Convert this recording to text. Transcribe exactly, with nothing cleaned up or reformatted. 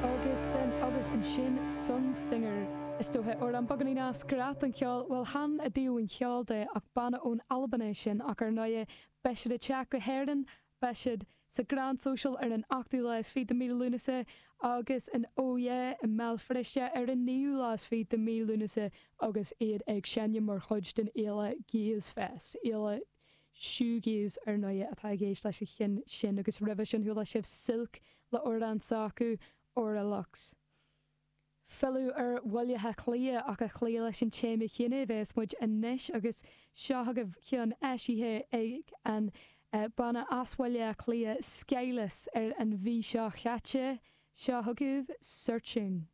Agus b'in agaibh ansin Sunstinger. Is dócha amhrán beagáinín as scraith an cheoil, bhuel chan i dtaobh an cheoil de ach banna ón Albain é sin ach ar ndóigh beidh siad ag teacht go hÉirinn beidh siad sa Grand Social ar an ochtú lá is fiche de mí Lúnasa agus in Oh Yeah i mBéal Feirste ar an naoú lá is fiche de mí Lúnasa agus iad ag seinm mar chuid den fhéile Gaze Fest. Fhéile shoegaze ar ndóigh atá i gceist leis an cheann sin agus roimhe sin chuala sibh Silk le amhrán s'acu Aura Lux. Filleadh ar Bhaile Átha Cliath ach ag cloí leis an téama chéanna a bheas muid anois agus seo agaibh ceann eisithe ag an banna as Bhaile Átha Cliath Skyless ar an mhí seo chaite seo chugaibh Searching.